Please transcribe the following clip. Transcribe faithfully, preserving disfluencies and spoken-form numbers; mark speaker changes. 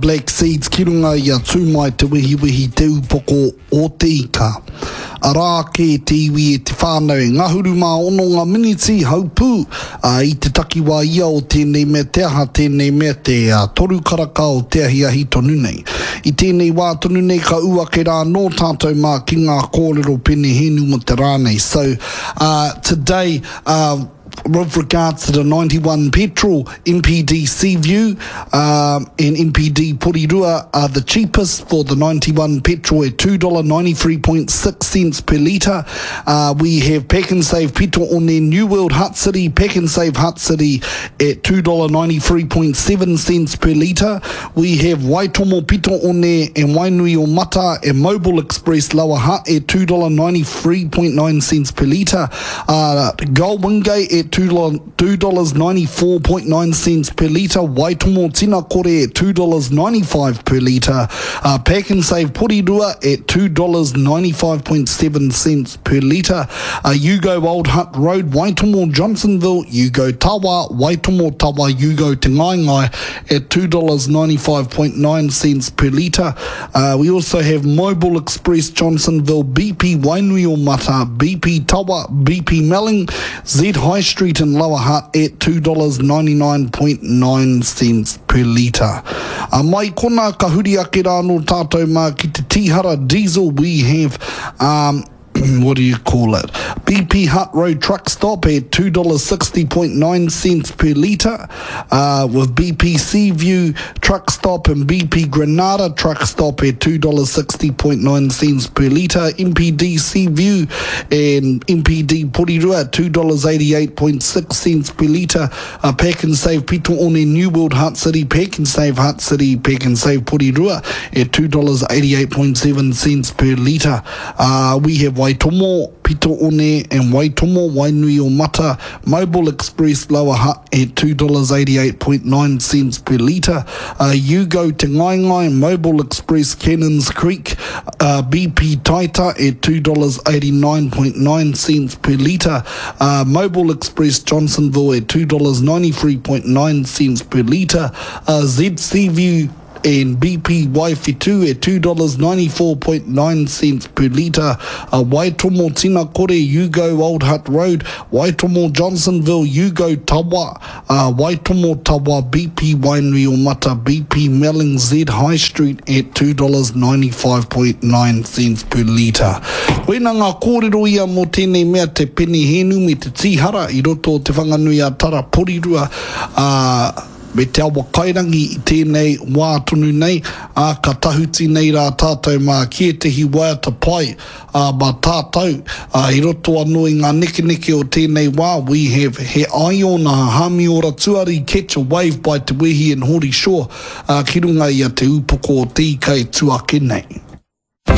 Speaker 1: Black Seeds ki runga i a Tūmai Te Wehiwehi Te Upoko o Te Ika. Arā ake te iwi e te whānau e ngahuru mā ono ngā miniti haupū ā, i te takiwā ia o tēnei mea te aha tēnei mea te ā, toru karaka o te ahiahi tonu nei. I tēnei wā tonu nei ka ū ake rā anō tātou mā ki ngā kōrero penehēnu mō te rā nei. So, uh, today, uh, with regards to the ninety-one petrol, M P D Seaview um, and M P D Porirua are the cheapest for the ninety-one petrol at two dollars ninety-three point six cents per litre. Uh, we have Pak'nSave Pito One New World Hutt City, Pak'nSave Hutt City at two dollars ninety-three point seven cents per litre. We have Waitomo Pito One and Wainui o Mata and Mobile Express Lower Hutt at two dollars ninety-three point nine cents per litre. Uh, Gull Wingate at two dollars ninety-four point nine cents per litre. Waitomo Tinakore at two dollars ninety-five per litre. Uh, Pak'nSave Porirua at two dollars ninety-five point seven cents per litre. Uh, U-Go Old Hutt Road, Waitomo Johnsonville, U-Go Tawa, Waitomo Tawa, U-Go Te Ngaengae at two dollars ninety-five point nine cents per litre. Uh, we also have Mobile Express Johnsonville, B P Wainui o Mata, B P Tawa, B P Melling, Z High Street in Lower Hutt at two dollars ninety-nine point nine cents per litre. Uh, mai kona ka huri ake rā no tātou mā ki te Tihara Diesel. We have um, what do you call it? B P Hutt Road Truck Stop at two dollars sixty point nine cents per litre, uh, with B P Seaview Truck Stop and B P Granada Truck Stop at two dollars sixty point nine cents per litre, M P D Seaview and M P D Porirua at two dollars eighty-eight point six cents per litre, uh, Pak'nSave Pito One New World Hutt City, Pak'nSave Hutt City, Pak'nSave Porirua at two dollars eighty-eight point seven cents per litre. Uh, we have Waitomo, Pito One and Waitomo, Wainui o Mata, Mobile Express Lower Hutt at two dollars eighty-eight point nine cents per litre. Uh, U-Go Te Ngaengae, Mobile Express Cannons Creek, uh, B P Taita at two dollars eighty-nine point nine cents per litre. Uh, Mobile Express Johnsonville at two dollars ninety-three point nine cents per litre. Uh, Z View and B P Waiwhetu at two dollars ninety-four point nine cents per litre. Uh, Waitomo Tinakore, U-Go Old Hutt Road, Waitomo Johnsonville, U-Go Tawa, uh, Waitomo Tawa, B P Wainui o Mata, B P Melling Z High Street at two dollars ninety-five point nine cents per litre. Koina ngā kōrero ia mō tēnei mea te penehēnu me te tīhara i roto o Te Whanganui a Tara Porirua uh, me te awa kairangi i tēnei wā tonu nei, ā, ka tahuti nei rā tātou mā ki ētehi waiata pai ā, mā tātou ā, i roto anō i ngā nekeneke o tēnei wā. We have He Aiona Hamiora Tuari, Catch a Wave by Te Wehi and Hori Shaw, ā, ki runga i a Te Upoko o Te Ika e tū ake nei.